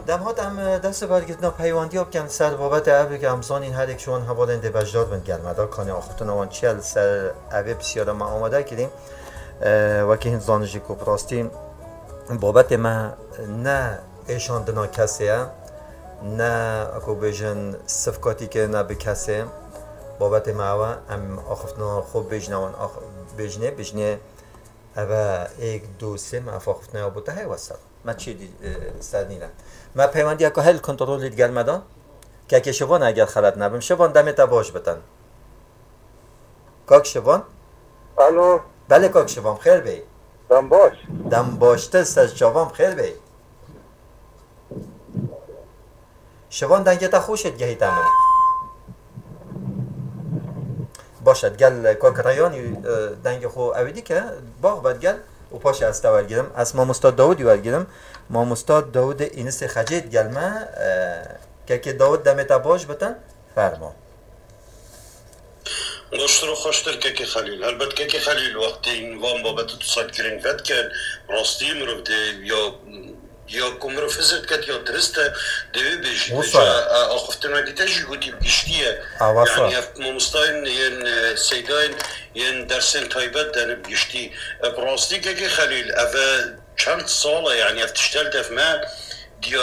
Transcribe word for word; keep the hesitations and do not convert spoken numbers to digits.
Dem hat em, e, dest bi bergirtina peywandiya bikin ser babetê ev, ke em zanîn herek ji wan hevalên dê beşdar bin gel me de. Kanê axiftina wan çi ye, li ser evê pisyara me amade kirî. E, wekî hin zanî jî ku bi rastî babetê me ne êşandina kesê ye, ne, ku bêjin, sifkatî kirine bi kesê. Babetê me ew e, em axiftina xwe bêjine wan, ax-, bêjinê, bêjinê, ev e, êk, du, sê, me ev axiftina ya bo te heye, wesel. Me çi dî, e, ser nîne. Me peywendiyeke hel kontrolî digel me de. Kekê Şivan, eger xelet nebim. Şivan, demê te baş bitin. Kak Şivan? Alo. Belê kak Şivan, xêr bê. Dem baş. Dem baştir, ser çavan xêr bê. Şivan, dengê te xweş e, digehîte min. Baş e, digel kak Reyanî, e, dengê xwe ewî dike, bax be digel û paşê ez te wergirim. Ez mamosta Dawidî wergirim. Mamosta Dawidê Înisê Xecê digel me. E, kekê Dawid, demê te baş bitin. Fermo. Baştir û xweştir kekê Xelîl. Helbet kekê Xelîl, wextê van babetê tu sed giring vedikin, rastî mirov dê ya, ya ku mirov hizir diket ya dirist e, dê wê bêjî. Wisa. Te ca, e, axiftinekî te jî gotî bi giştî ye. A, wisa. Yanî ev mamostayên yên, e, seydayên yên dersên taybet dene bi giştî. E, bi rastî kekê Xelîl, ev e çend sal e, yanî ev tiştel def me,